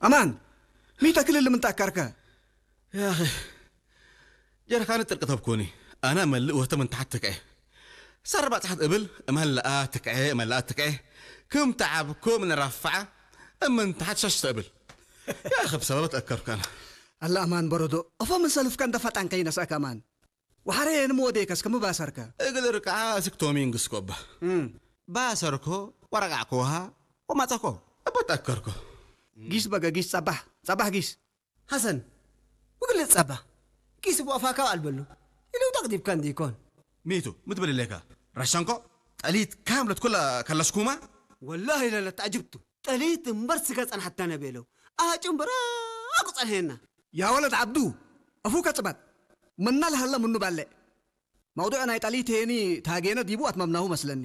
ኣማን፣ ሚተ ክልል ምንታይ ኣካርከ? ያኺ፣ ጀርካን ጥርቂ ተብኮኒ። ኣና መልእ ወተ ምን ተሓት ትክዐ። ሰር ባጽሓት እብል፣ እመለኣ ትክዐ፣ እመለኣ ትክዐ። ክም ተዓብኮ ምን ራፋዓ፣ እምን ተሓት ሸሽ ተብል። ያኺ፣ ብሰበበት ኣከርካና። ኣላ ኣማን በረዶ፣ እፎ ምን ሰልፍካ እንደ ፈጣን ከይነስኣካ ኣማን። ወሓረ የንም ወዴከስ ከም ባሰርካ። እግል ርቃዓ እስክ ቶሚንግስ ኮባ። እም። ባሰርኮ፣ ወረቃዕኮ ውሃ፣ ወማጸኮ። እቦት ኣከርኮ። ጊስ በገ ጊስ ጸባሕ፣ ጸባሕ ጊስ። ሐሰን፣ ብግልጽ ጸባ። ጊስ ብኣፋካ ኣልበሉ። ኢሉ ተቅዲብካ እንዲኮን። ሚቱ፣ ምትብል ኢለካ። ራሻንኮ፣ ጠሊት ካምለት ኩላ ከለስኩማ? ወላሂ ለለ ተዓጅብቱ። ጠሊት እምበር ስጋ ጸንሐታ ነበለው። ኣሃ ጭምበራ ኣቁ ጸንሐና። ያ ወለድ ዓብዱ፣ ኣፉካ ጽባጥ። መና ለሃለ ምኑ ባለ። መውዱዕ ናይ ጠሊት ሄኒ ታጌነ ዲቡ ኣትመምናሁ መስለኒ።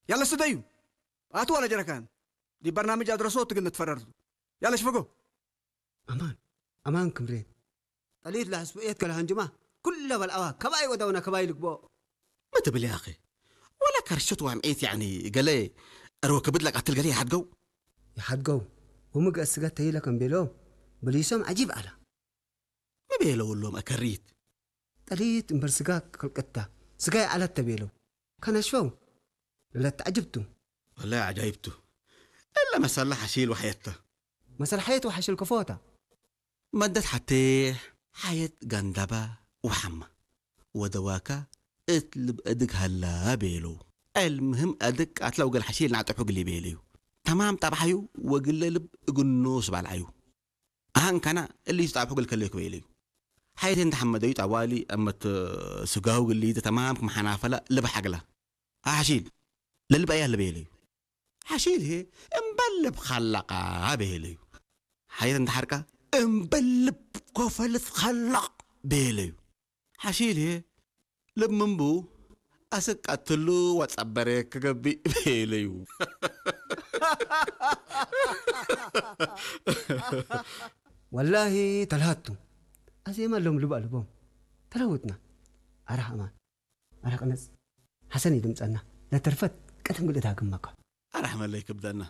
ያለ ስደዩ። ኣቱ ዋለ ጀረካን። ዲ በርናምጅ ኣድረሶ ትግን ትፈረርቱ። ያለ ሽፈጎ። ኣማን፣ ኣማን ክምሬ። ጠሊት ለሐስቡ ኤት ከለ ሃንጅማ፣ ኩለ በልዓዋ፣ ከባይ ወዳውና ከባይ ልግቦ። ما تبلي يا أخي، ولا كرشت وعم عيت يعني، قال لي، أروك بدلك قتل قال لي حد جو. ይሓድገው፣ ወምግእ ስጋ ተይለ ከም ቤሎም፣ ብሊሶም ዓጂብ ኣላ። ما بيلو لهم أكريت. ጠሊት እምበር ስጋ ክልቅታ፣ ስጋ ይዓለት ተቤለው። ከነሽፈው፣ ለለት ተዓጅብቱ። والله عجايبته. إلا مسألة حشيل وحياته. መሰል ሓየት ወሓሽል ከፎታ። መደት ሓቴሕ ሓየት ጋንዳባ ወሓማ ወደዋካ እት ልብ እድግ ሃላ ቤሉ። المهم እድግ ቃትላ ወገል ሓሺል ናዕጠሑ ግሊ ቤለዩ። ተማም ጣብሓዩ ወግለ ልብ እግኖ ስባልዓዩ። ኣሃንካና እሊ ዝጣብሑ ግል ከለዩ ክበይለዩ። ሓየት እንተሓመደዩ ጣዋሊ እመት ስጋሁ ግሊ ተማም ክመሓናፈላ ልብ ሓግላ። ኣሓሺል ለልብ ኣያ ልበየለዩ። ሓሺል ሄ እምበልብ ኻላቓ በሄለዩ። ሓየት እንተሓርቃ እምበልብ ኮፈልት ኻላቕ በሄለዩ። ሓሺል ሄ ልብ ምንቡ ኣስቃትሉ ወጸበረ ክገብእ በሄለዩ። ወላሂ ተልሃቱ ኣዜማ ሎም ልብ ኣልቦም ተለውጥና። ኣራህ ኣማን ኣራህ ቅነጽ ሓሰን ይድምጸና። ለተርፈት ቀደም ግልእት ሃግመካ። ኣራህ መለይ ክብደና።